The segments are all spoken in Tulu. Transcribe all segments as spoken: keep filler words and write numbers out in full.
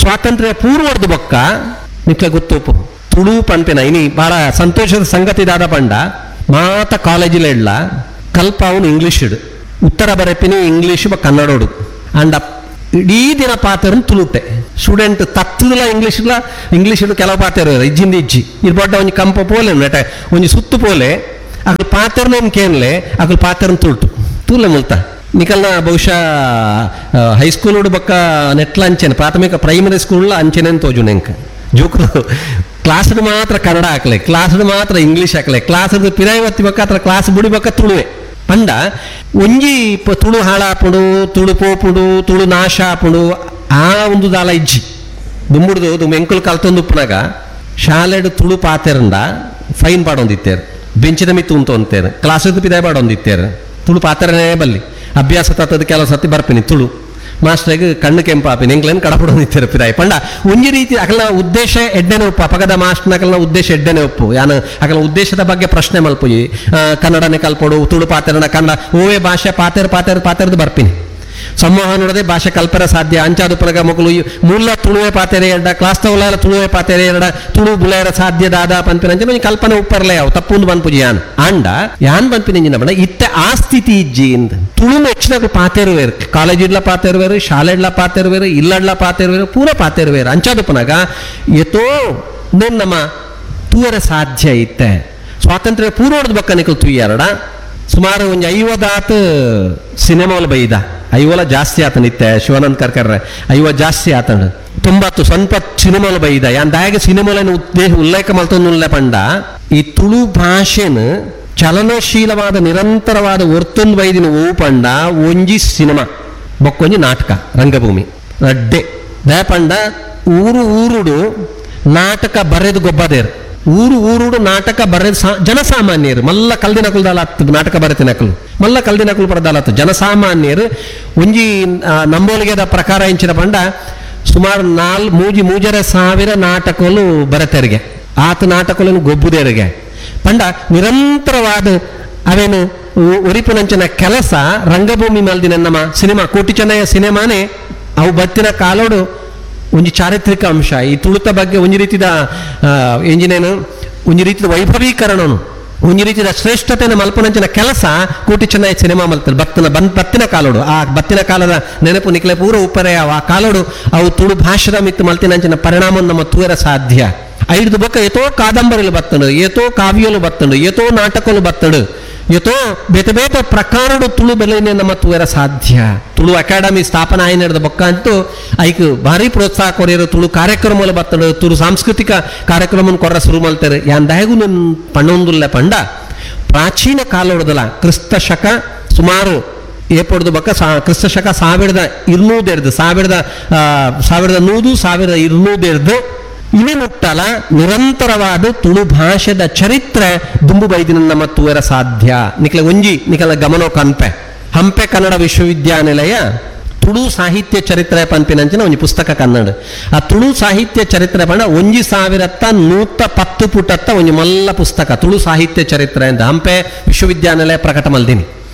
ಸ್ವಾತಂತ್ರ್ಯ ಪೂರ್ವದ ಬೊಕ್ಕ ನಿಕ್ಲೆ ಗೊತ್ತೋಪು ತುಳು ಪನ್ಪಿನ ಇನಿ ಬಹಳ ಸಂತೋಷದ ಸಂಗತಿ ದಾದ ಪಂಡ ಮಾತ ಕಾಲೇಜಿಲ ಇಡ್ಲ ಕಲ್ಪ ಅವನು ಇಂಗ್ಲೀಷ್ ಉತ್ತರ ಬರೆಪಿನಿ ಇಂಗ್ಲೀಷ್ ಬ ಕನ್ನಡೋಡು ಅಂಡ ಇಡೀ ದಿನ ಪಾತೆರನ್ ತುಳುಟೆ ಸ್ಟೂಡೆಂಟ್ ತತ್ತದಲ ಇಂಗ್ಲೀಷ್ಲ ಇಂಗ್ಲೀಷ್ ಕೆಲವು ಪಾತೆರ ಇಜ್ಜಿಂದ ಇಜ್ಜಿ ಇದು ದೊಡ್ಡ ಒಂಜಿ ಕಂಪ ಪೋಲೆ ನೆಟ ಒಂಜಿ ಸುತ್ತು ಪೋಲೆ ಅಕಲ್ ಪಾತೆರ್ನೇನ್ ಕೇನ್ಲೆ ಅಕಲ್ ಪಾತೆರನ್ ತುಳುಟು ತೂಲೆ ಮುಲ್ತ ನಿಕಲ್ನ ಬಹುಶಃ ಹೈಸ್ಕೂಲ್ ಬೊಕ್ಕ ನೆಟ್ಲ ಅಂಚೆನೆ ಪ್ರಾಥಮಿಕ ಪ್ರೈಮರಿ ಸ್ಕೂಲ್ ಅಂಚೆನೆ ತೋಜು ನೆಂಕ್ ಜೋಕುಲು ಕ್ಲಾಸ್ ಮಾತ್ರ ಕನ್ನಡ ಹಾಕ್ಲೆ ಕ್ಲಾಸ್ ಮಾತ್ರ ಇಂಗ್ಲೀಷ್ ಹಾಕ್ಲೆ ಕ್ಲಾಸ್ ಪಿರಾಯಿ ಒತ್ತಿ ಬೊಕ್ಕ ಅತ್ರ ಕ್ಲಾಸ್ ಬುಡಿ ಬೊಕ್ಕ ತುಳುವೆ ಪಂಡ ಒಂಜಿ ಪ- ತುಳು ಹಾಳಾಪುಂಡು ತುಳು ಪೋಪುಂಡು ತುಳು ನಾಶ ಆಪುಂಡು ಆ ಒಂದು ದಾಲ ಇಜ್ಜಿ ದುಂಬುಡ್ದು ದುಂಬು ಎಂಕುಲು ಕಲ್ತೊಂದು ಉಪ್ಪುನಾಗ ಶಾಲೆಡ್ ತುಳು ಪಾತೆರಂಡ ಫೈನ್ ಪಾಡೊಂದಿತ್ತೇರು ಬೆಂಚಿದ ಮಿತ್ತು ಉಂತು ಅಂತೇರು ಕ್ಲಾಸದ ಪಿದಾಯ ಪಾಡೊಂದಿತ್ತೇರು ತುಳು ಪಾತೆರನೇ ಬಲ್ಲಿ ಅಭ್ಯಾಸ ತತ್ತದ ಕೆಲವು ಸತಿ ಬರ್ಪಿನಿ ತುಳು ಮಾಸ್ಟ್ರಿಗೆ ಕಣ್ಣು ಕೆಂಪಾಪಿನಿ ಎಂಕ್ಲೇನು ಕಡಪಡೊಂದಿತ್ತೇರು ಪಿದಾಯಿ ಪಂಡ ಒಂಜಿ ರೀತಿ ಅಕಲ್ನ ಉದ್ದೇಶ ಎಡ್ಡೆನೆ ಒಪ್ಪು ಅಪಗದ ಮಾಸ್ಟ್ನ ಅಕಲ್ನ ಉದ್ದೇಶ ಎಡ್ಡೆನೆ ಒಪ್ಪು ಯಾನು ಅಕಲ್ನ ಉದ್ದೇಶದ ಬಗ್ಗೆ ಪ್ರಶ್ನೆ ಮಲ್ಪುಯಿ ಆ, ಕನ್ನಡನೇ ಕಲ್ಪೊಡು ತುಳು ಪಾತೆರನ ಕನ್ನಡ ಓವೇ ಭಾಷೆ ಪಾತೆರ್ ಪಾತೆರ್ ಪಾತೆರ್ದು ಬರ್ಪಿನಿ ಸಂವಹನೋಡದೆ ಭಾಷೆ ಕಲ್ಪರ ಸಾಧ್ಯ ಅಂಚಾದು ಪನಗ ಮಕ್ಕಳು ಈ ಮೂಲ ತುಳುವೆ ಪಾತೆರೆ ಎರಡ ಕ್ಲಾಸ್ ತವಲ ತುಳುವೆ ಪಾತೆರೆ ಎರಡ ತುಳು ಬುಲೆರ ಸಾಧ್ಯ ದಾದ ಪನ್ಪಿನ ಅಂಚ ಒಂಜಿ ಕಲ್ಪನೆ ಉಪ್ಪರ್ಲೆ ಅವು ತಪ್ಪುಂದು ಪನ್ಪುಜಿ ಯಾನ್ ಆಂಡ ಯಾನ್ ಪನ್ಪಿನ ಇಂಜಿನ ಬಣ್ಣ ಇತ್ತೆ ಆ ಸ್ಥಿತಿ ಇಜ್ಜಿ ಇಂದ್ ತುಳು ಹೆಚ್ಚಿನಕ್ಲು ಪಾತೆರುವೇರು ಕಾಲೇಜ್ ಇಡ್ಲ ಪಾತೆರುವೇರು ಶಾಲೆಡ್ಲ ಪಾತೆರುವೇರು ಇಲ್ಲಡ್ಲ ಪಾತೆರುವೇರು ಪೂರ ಪಾತೆರುವೇರು ಅಂಚಾದು ಪನಗ ಎತೋ ನೆನ್ ನಮ್ಮ ತೂವರೆ ಸಾಧ್ಯ ಇತ್ತೆ ಸ್ವಾತಂತ್ರ್ಯ ಪೂರ್ವದ ಬಕ್ಕ ನಿಕಲ್ ತುಯ್ಯಾರಡ ಸುಮಾರು ಒಂಜಿ ಐವದಾತ್ ಸಿನಿಮಾಲ್ ಬೈದ ಐವಲ ಜಾಸ್ತಿ ಆತನ ಇತ್ತೆ ಶಿವಾನಂದ್ ಕರ್ಕರ್ರೆ ಐವ ಜಾಸ್ತಿ ಆತನ ತೊಂಬತ್ತು ಸ್ವಲ್ಪ ಸಿನಿಮಾಲ್ ಬೈದ ಯಾನ್ ದಾಯಗ ಸಿನಿಮಾಲನ್ನು ಉದ್ದೇಶ ಉಲ್ಲೇಖ ಮಲ್ತೊಂದುಲ್ಲ ಪಂಡ ಈ ತುಳು ಭಾಷೆನ ಚಲನಶೀಲವಾದ ನಿರಂತರವಾದ ಒರ್ತೊಂದು ಬೈದಿನ ಓ ಪಂಡ ಒಂಜಿ ಸಿನಿಮಾ ಬೊಕ್ಕೊಂಜಿ ನಾಟಕ ರಂಗಭೂಮಿ ರಡ್ಡೆ ದಯ ಪಂಡ ಊರು ಊರುಡು ನಾಟಕ ಬರೆದು ಗೊಬ್ಬದೇರು ಊರು ಊರುಡು ನಾಟಕ ಬರೆದು ಸಾ ಜನಸಾಮಾನ್ಯರು ಮಲ್ಲ ಕಲ್ದಿನ ಕುಲ್ದಾಲತ್ತು ನಾಟಕ ಬರೆತಿನ ನಕಲು ಮಲ್ಲ ಕಲ್ದಿನ ಕುಲ್ ಪರದಾಲತ್ತು ಜನಸಾಮಾನ್ಯರು ಒಂಜಿ ಆ, ನಂಬೋಲಿಗೆದ ಪ್ರಕಾರ ಇಂಚಿನ ಪಂಡ ಸುಮಾರು ನಾಲ್ ಮೂಜಿ ಮೂಜರೆ ಸಾವಿರ ನಾಟಕಲು ಬರೆತೆರಿಗೆ ಆತ ನಾಟಕలను ಗೊಬ್ಬುದೇರಿಗೆ ಪಂಡ ನಿರಂತರವಾದ ಅವೇನು ಉ- ಉರಿಪುನಂಚಿನ ಕೆಲಸ ರಂಗಭೂಮಿ ಮಲ್ದಿನ ನಮ್ಮ ಸಿನಿಮಾ ಕೋಟಿ ಚೆನ್ನಯ್ಯ ಸಿನಿಮಾನೇ ಅವು ಬತ್ತಿನ ಕಾಲೋಡು ಒಂಜಿ ಚಾರಿತ್ರಿಕ ಅಂಶ ಈ ತುಳುತ ಬಗ್ಗೆ ಒಂಜಿ ರೀತಿದ ಆ, ಎಂಜಿನೇನು ಒಂಜಿ ರೀತಿದ ವೈಭವೀಕರಣನು ಒಂಜಿ ರೀತಿದ ಶ್ರೇಷ್ಠತೆಯನ್ನು ಮಲ್ಪನಂಚಿನ ಕೆಲಸ ಕೋಟಿ ಚೆನ್ನಯ್ಯ ಸಿನಿಮಾ ಮಲ್ತದೆ ಬತ್ತಿನ ಬನ್ ಬತ್ತಿನ ಕಾಲೋಡು ಆ ಬತ್ತಿನ ಕಾಲದ ನೆನಪು ನಿಕ್ಲೆ ಪೂರ ಉಪ್ಪರೆ ಆ ಕಾಲೋಡು ಅವು ತುಳು ಭಾಷೆದ ಮಿತ್ತು ಮಲ್ತಿನಂಚಿನ ಪರಿಣಾಮ ನಮ್ಮ ತೂರ ಸಾಧ್ಯ ಐದು ಬೊಕ್ಕ ಏತೋ ಕಾದಂಬರಿಲು ಬತ್ತಂಡು ಏತೋ ಕಾವ್ಯಲು ಬತ್ತಂಡು ಏತೋ ನಾಟಕಲು ಬತ್ತಂಡು ಏತೋ ಬೇತೆ ಬೇತೆ ಪ್ರಕಾರಡು ತುಳು ಬೆಲೆನೆ ನಮ್ಮ ತೂಯರ ಸಾಧ್ಯ ತುಳು ಅಕಾಡೆಮಿ ಸ್ಥಾಪನೆ ಆಯ್ನದ ಬೊಕ್ಕ ಅಂತೂ ಐಕ್ ಭಾರಿ ಪ್ರೋತ್ಸಾಹ ಕೊರಿಯರು ತುಳು ಕಾರ್ಯಕ್ರಮలు ಬತ್ತಂಡು ತುಳು ಸಾಂಸ್ಕೃತಿಕ ಕಾರ್ಯಕ್ರಮ ಕೊರ್ರ ಶುರು ಮಲ್ತಾರೆ ಯಾನ್ ದಾಯಗು ನನ್ ಪಣ್ಣೊಂದುಲ್ಲ ಪಂಡ ಪ್ರಾಚೀನ ಕಾಲೋಡದಲ ಕ್ರಿಸ್ತ ಶಕ ಸುಮಾರು ಏಪೊಡ್ದು ಬೊಕ್ಕ ಸಾ ಕ್ರಿಸ್ತ ಶಕ ಸಾವಿರದ ಇರ್ನೂದೆರ್ದು ಸಾವಿರದ ಆ, ಸಾವಿರದ ನೂದು ಸಾವಿರದ ಇರ್ನೂದೆರ್ದು ಇವೆ ಮುಟ್ಟಲ ನಿರಂತರವಾದ ತುಳು ಭಾಷೆದ ಚರಿತ್ರೆ ದುಂಬು ಬೈದಿನ ನಮ್ಮ ತೂವರ ಸಾಧ್ಯ ನಿಕಲ ಒಂಜಿ ನಿಕಲ ಗಮನೋ ಕನ್ಪೆ ಹಂಪೆ ಕನ್ನಡ ವಿಶ್ವವಿದ್ಯಾನಿಲಯ ತುಳು ಸಾಹಿತ್ಯ ಚರಿತ್ರೆ ಪನ್ಪಿನಂಚಿನ ಒಂಜಿ ಪುಸ್ತಕ ಕನ್ನಡ ಆ ತುಳು ಸಾಹಿತ್ಯ ಚರಿತ್ರೆ ಪಂಡ ಒಂಜಿ ಸಾವಿರತ್ತ ನೂತ ಪತ್ತು ಪುಟತ್ತ ಒಂಜಿ ಮಲ್ಲ ಪುಸ್ತಕ ತುಳು ಸಾಹಿತ್ಯ ಚರಿತ್ರೆ ಅಂತ ಹಂಪೆ ವಿಶ್ವವಿದ್ಯಾನಿಲಯ ಪ್ರಕಟ ಮಲ್ದಿನಿ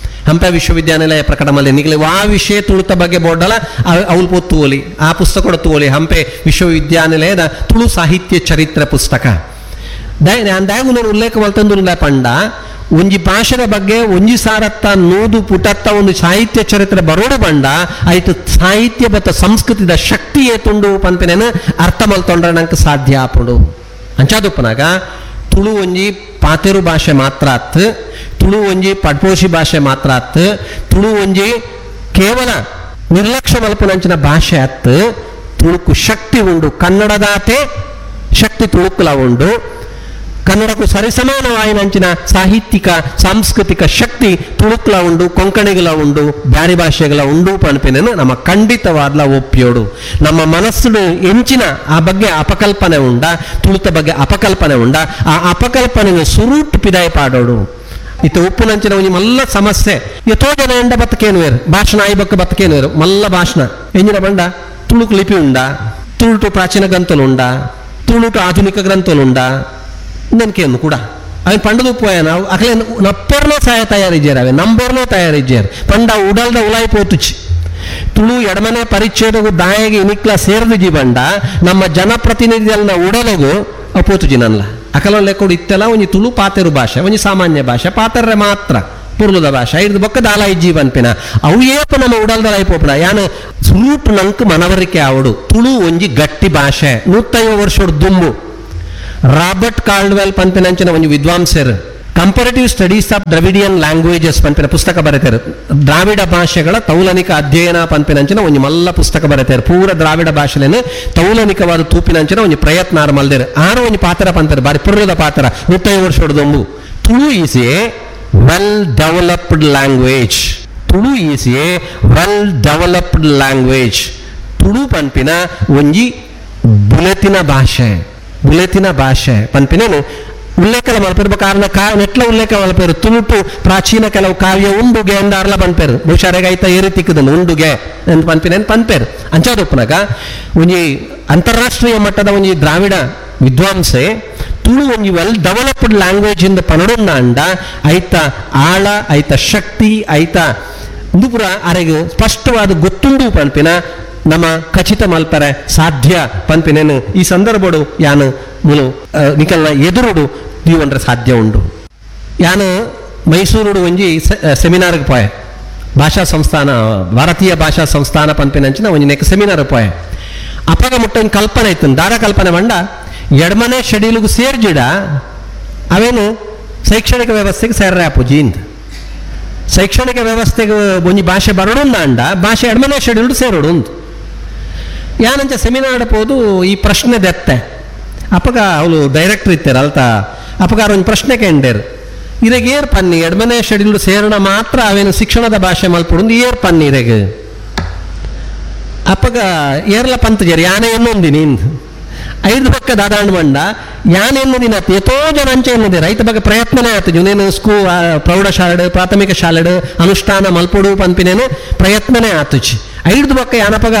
ಹಂಪೆ ವಿಶ್ವವಿದ್ಯಾನಿಲಯ ಪ್ರಕಟ ಮಲ್ದಿನಿ ನಿಗಲೆ ವಾ ವಿಷಯ ತುಳುತ ಬಗ್ಗೆ ಬೋರ್ಡಲ ಅವಳು ಪೋ ತೂವಲಿ ಆ ಪುಸ್ತಕ ತೂವಲಿ ಹಂಪೆ ವಿಶ್ವವಿದ್ಯಾನಿಲಯದ ತುಳು ಸಾಹಿತ್ಯ ಚರಿತ್ರೆ ಪುಸ್ತಕ ದಾಯ ಉಲ್ಲೇಖ ಮಲ್ತಂದುಲ್ಲ ಪಂಡ ಒಂಜಿ ಭಾಷೆದ ಬಗ್ಗೆ ಒಂಜಿ ಸಾರತ್ತ ನೂದು ಪುಟತ್ತ ಒಂದು ಸಾಹಿತ್ಯ ಚರಿತ್ರೆ ಬರೋಡು ಪಂಡ ಆಯ್ತು ಸಾಹಿತ್ಯ ಬತ್ತ ಸಂಸ್ಕೃತಿದ ಶಕ್ತಿ ಏತುಂಡು ಪನ್ಪಿನೇನು ಅರ್ಥ ಮಲ್ತೊಂಡ್ರೆ ನಂಗೆ ಸಾಧ್ಯ ಆಪುಂಡು ಅಂಚಾದುಪ್ಪನಾಗ ತುಳು ಒಂಜಿ ಪಾತೆರು ಭಾಷೆ ಮಾತ್ರ ಅತ್ ತುಳು ಒಂಜಿ ಪಡ್ಪೋಷಿ ಭಾಷೆ ಮಾತ್ರ ಅತ್ ತುಳು ಒಂಜಿ ಕೇವಲ ನಿರ್ಲಕ್ಷ್ಯ ಮಲ್ಪುನಂಚಿನ ಭಾಷೆ ಅತ್ ತುಳುಕು ಶಕ್ತಿ ಉಂಡು ಕನ್ನಡದಾತೆ ಶಕ್ತಿ ತುಳುಕುಲ ಉಂಡು ಕನ್ನಡಕ್ಕೂ ಸರಿಸಮಾನವಾಯಿನಂಚಿನ ಸಾಹಿತ್ಯಿಕ ಸಾಂಸ್ಕೃತಿಕ ಶಕ್ತಿ ತುಳುಕ್ಲ ಉಂಡು ಕೊಂಕಣಿಗಳ ಉಂಡು ಬ್ಯಾರಿ ಭಾಷೆಗಳ ಉಂಡು ಪನ್ಪಿನೇನು ನಮ್ಮ ಖಂಡಿತವಾದ್ಲ ಒಪ್ಪಿಯೋಡು ನಮ್ಮ ಮನಸ್ಸು ಎಂಚಿನ ಆ ಬಗ್ಗೆ ಅಪಕಲ್ಪನೆ ಉಂಡ ತುಳುತ ಬಗ್ಗೆ ಅಪಕಲ್ಪನೆ ಉಂಡ ಆ ಅಪಕಲ್ಪನೆಗೆ ಸುರೂಟ್ ಪಿದಾಯ ಪಾಡೋಡು ಇತ್ತ ಉಪ್ಪುನಂಚಿನ ಒಂಜಿ ಮಲ್ಲ ಸಮಸ್ಯೆ ಎತೋ ಜನ ಎಂಡ ಬತ್ತಕೇನುವೇರು ಭಾಷಣ ಆಯ್ಬಕ್ಕ ಬತ್ತಕೇನುವೇರು ಮಲ್ಲ ಭಾಷಣ ಎಂಜಿನ ಬಂಡ ತುಳುಕು ಲಿಪಿ ಉಂಡ ತುಳುಟು ಪ್ರಾಚೀನ ಗ್ರಂಥಲು ಉಂಡ ತುಳುಟು ಆಧುನಿಕ ಗ್ರಂಥಲು ಉಂಡ ನೆನಕೆಯನ್ನು ಕೂಡ ಅವನ್ ಪಂಡದ ಉಪ್ಪು ನಾವು ಅಕಲೆ ನಪ್ಪರ್ನೋ ಸಹಾಯ ತಯಾರಿಜ್ಯಾರ ಅವೆ ನಂಬರ್ನೋ ತಯಾರಿಜ್ಯಾರ ಪಂಡ ಉಡಲ್ದ ಉಲಾಯಿ ಪೋತುಚಿ ತುಳು ಎಡಮನೆ ಪರಿಚ್ಛೇದಗೂ ದಾಯಗೆ ಇನಿಕ್ಲ ಸೇರ್ದು ಜೀವಂಡ ನಮ್ಮ ಜನಪ್ರತಿನಿಧಿಗಳನ್ನ ಉಡಲಗು ಅಪೋತು ಜಿನನ್ಲ ಅಕಲ ಲೆಕ್ಕೊಡು ಇತ್ತೆಲ್ಲ ಒಂಜಿ ತುಳು ಪಾತೆರು ಭಾಷೆ, ಒಂಜಿ ಸಾಮಾನ್ಯ ಭಾಷೆ, ಪಾತೆರ್ರೆ ಮಾತ್ರ ಪುರ್ಲುದ ಭಾಷೆ ಐದು ಬೊಕ್ಕ ದಾಲ ಇಜ್ಜಿ ಪನ್ಪಿನ ಅವು ಏಪ ನಮ್ಮ ಉಡಲ್ದಲ ಐಪೋಪುಣ ಯಾನ್ ಸುರೂಟ್ ನಂಕ್ ಮನವರಿಕೆ ಆವಡು ತುಳು ಒಂಜಿ ಗಟ್ಟಿ ಭಾಷೆ. ನೂತ್ತೈವ ವರ್ಷಡ್ ದುಂಬು ರಾಬರ್ಟ್ ಕಾರ್ಡ್ವೆಲ್ ಪನ್ಪಿನಂಚಿನ ಒಂಜಿ ವಿದ್ವಾಂಸರು comparative studies of Dravidian languages ಪನ್ಪಿನ ಪುಸ್ತಕ ಬರೆತಾರೆ. ದ್ರಾವಿಡ ಭಾಷೆಗಳ ತೌಲನಿಕ ಅಧ್ಯಯನ ಪನ್ಪಿನಂಚಿನ ಒಂಜಿ ಮಲ್ಲ ಪುಸ್ತಕ ಬರೆತಾರೆ. ಪೂರ ದ್ರಾವಿಡ ಭಾಷೆಲೇನು ತೌಲನಿಕವಾದ ತೂಪಿನಂಚಿನ ಒಂಜಿ ಪ್ರಯತ್ನ ಆರ್ ಮಲ್ದೇರು. ಆರು ಒಂಜಿ ಪಾತ್ರ ಪಂತಾರೆ, ಬಾರಿ ಪುರ್ರದ ಪಾತ್ರ. ನೂತ್ತೈದು ವರ್ಷದ ದೊಂಬು Tulu is a well developed language. Tulu is a well developed language. Tulu ಪನ್ಪಿನ ಒಂಜಿ ಬುಲೆತಿನ ಭಾಷೆ, ಬುಲೆತಿನ ಭಾಷೆ ಪನ್ಪಿನೇನು ಉಲ್ಲೇಖದ ಮಲ್ಪೇರು ಕಾರಣ ಕಾ ನೆಟ್ಲ ಉಲ್ಲೇಖ ಮಲ್ಪೇರು. ತುಳುಟು ಪ್ರಾಚೀನ ಕೆಲವು ಕಾವ್ಯ ಉಂಡುಗೆ ಎಂದಾರ್ಲ ಪನ್ಪೇರು, ಬಹುಶಃ ಐತ ಏರಿ ತಿಕ್ಕದನ್ನು ಉಂಡುಗೆ ಎಂದು ಪನ್ಪಿನೇನು ಪನ್ಪೇರು. ಅಂಚಾದೊಪ್ಪನಾಗ ಒಂಜಿ ಅಂತಾರಾಷ್ಟ್ರೀಯ ಮಟ್ಟದ ಒಂಜಿ ದ್ರಾವಿಡ ವಿದ್ವಾಂಸೆ ತುಳು ಒಂಜಿ ವೆಲ್ ಡೆವಲಪ್ಡ್ ಲ್ಯಾಂಗ್ವೇಜ್ ಇಂದ ಪನಡುಂಡ ಅಂಡ ಐತ ಆಳ, ಐತ ಶಕ್ತಿ, ಐತ ಇಂದು ಪೂರ ಅರೆಗ್ ಸ್ಪಷ್ಟವಾದ ಗೊತ್ತುಂಡು ಪನ್ಪಿನ ನಮ್ಮ ಖಚಿತ ಮಲ್ಪರೆ ಸಾಧ್ಯ ಪನ್ಪಿನೇನು ಈ ಸಂದರ್ಭಡು ಯಾನು ಮುಲು ನಿಕಲ್ನ ಎದುರುಡು ದೀವನ್ರೆ ಸಾಧ್ಯ ಉಂಡು. ಯಾನು ಮೈಸೂರುಡು ಒಂಜಿ ಸೆಮಿನಾರ್ಗೆ ಪೋಯೆ, ಭಾಷಾ ಸಂಸ್ಥಾನ, ಭಾರತೀಯ ಭಾಷಾ ಸಂಸ್ಥಾನ ಪನ್ಪಿನಂಚಿನ ಒಂಜಿ ನೆಕ್ ಸೆಮಿನಾರ್ ಪೋಯೆ. ಅಪಗ ಮುಟ್ಟ ಒಂದು ಕಲ್ಪನೆ ಇತ್ತು, ದಾರ ಕಲ್ಪನೆ ಬಂಡ ಎಡಮನೆ ಶೆಡ್ಯೂಲ್ಗೆ ಸೇರ್ಜಿಡ ಅವೇನು ಶೈಕ್ಷಣಿಕ ವ್ಯವಸ್ಥೆಗೆ ಸೇರ್ರೆ ಅಪ್ಪುಜಿ ಇಂದ. ಶೈಕ್ಷಣಿಕ ವ್ಯವಸ್ಥೆಗೆ ಒಂಜಿ ಭಾಷೆ ಬರಡುಂದ ಅಂಡ ಭಾಷೆ ಎಡಮನೆ ಶೆಡ್ಯೂಲ್ಡ್ ಸೇರೋಡು ಉಂದು. ಯಾನಂಚ ಸೆಮಿನಾರ್ ಪೋದು ಈ ಪ್ರಶ್ನೆ ದೆತ್ತೆ. ಅಪಗ ಅವಳು ಡೈರೆಕ್ಟರ್ ಇತ್ತಾರೆ ಅಲ್ತ, ಅಪಗಾರ ಒಂದು ಪ್ರಶ್ನೆ ಕೇಂಡೇರು, ಇರೆಗ್ ಏರ್ ಪನ್ನಿ ಎಡಮನೆ ಶೆಡ್ಯೂಲ್ಡ್ ಸೇರಣ ಮಾತ್ರ ಅವೇನು ಶಿಕ್ಷಣದ ಭಾಷೆ ಮಲ್ಪುಡುಂದು ಏರ್ ಪನ್ನಿ ಇರೆಗ್. ಅಪಗ ಏರ್ಲ ಪಂತಜೇರು ಯಾನೆ ಎನ್ನೊಂದಿನಿ ಇಂದು ಐದು ಪಕ್ಕ ದಾದಾಂಡ್ ಬಂಡ ಯಾನ್ ಎನ್ನದಿನ ಎತೋ ಜನ ಅಂಚೆ ಎನ್ನದೆ ರೈತ ಬಗ್ಗೆ ಪ್ರಯತ್ನನೇ ಆಯ್ತು. ಜುನೇನು ಸ್ಕೂ ಪ್ರೌಢಶಾಲೆಡು ಪ್ರಾಥಮಿಕ ಶಾಲೆಡು ಅನುಷ್ಠಾನ ಮಲ್ಪುಡು ಪನ್ಪಿನೇನು ಪ್ರಯತ್ನನೇ ಆತುಚಿ. ಐದು ಪಕ್ಕ ಯಾನಪಗ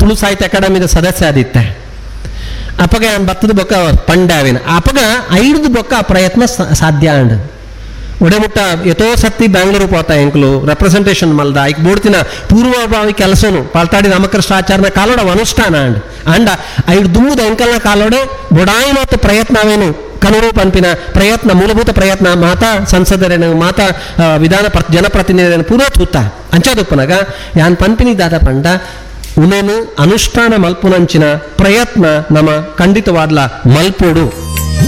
ತುಳು ಸಾಹಿತ್ಯ ಅಕಾಡೆಮಿದ ಸದಸ್ಯ ಆದಿತ್ತೆ. ಅಪಗ ಯಾನ್ ಬತ್ತದ ಬೊಕ್ಕ ಪಂಡಾವಿನ ಅಪಗ ಐದು ಬೊಕ್ಕ ಆ ಪ್ರಯತ್ನ ಸಾಧ್ಯ ಅಂಡ್. ಒಡೆಮುಟ್ಟ ಎತೋ ಸತ್ತಿ ಬ್ಯಾಂಗ್ಳೂರು ಪೋತ ಎಂಕ್ಲು ರೆಪ್ರೆಸೆಂಟೇಷನ್ ಮಲ್ದ ಐಕ್ ಬೋಡ್ತಿನ ಪೂರ್ವಭಾವಿ ಕೆಲಸನು ಪಾಲ್ತಾಡಿ ರಾಮಕೃಷ್ಣ ಆಚಾರ್ಯನ ಕಾಲೋಡ ಅನುಷ್ಠಾನ ಅಂಡ್ ಅಂಡ ಐದು ದುಮ್ಮುದ ಎಂಕಲ್ನ ಕಾಲೋಡೆ ಬೊಡಾಯಿ ಮತ್ತು ಪ್ರಯತ್ನವೇನು ಕನರು ಪಂಪಿನ ಪ್ರಯತ್ನ ಮೂಲಭೂತ ಪ್ರಯತ್ನ ಮಾತಾ ಸಂಸದರೇನು ಮಾತಾ ವಿಧಾನ ಪ್ರ ಜನಪ್ರತಿನಿಧಿರೇನು ಪೂರ್ವ ತೂತ ಅಂಚಾದೊಪ್ಪನಾಗ ಯಾನ್ ಪಂಪಿನಿ ದಾದ ಪಂಡ ಉನೇನು ಅನುಷ್ಠಾನ ಮಲ್ಪುನಂಚಿನ ಪ್ರಯತ್ನ ನಮ್ಮ ಖಂಡಿತವಾದ್ಲ ಮಲ್ಪೋಡು.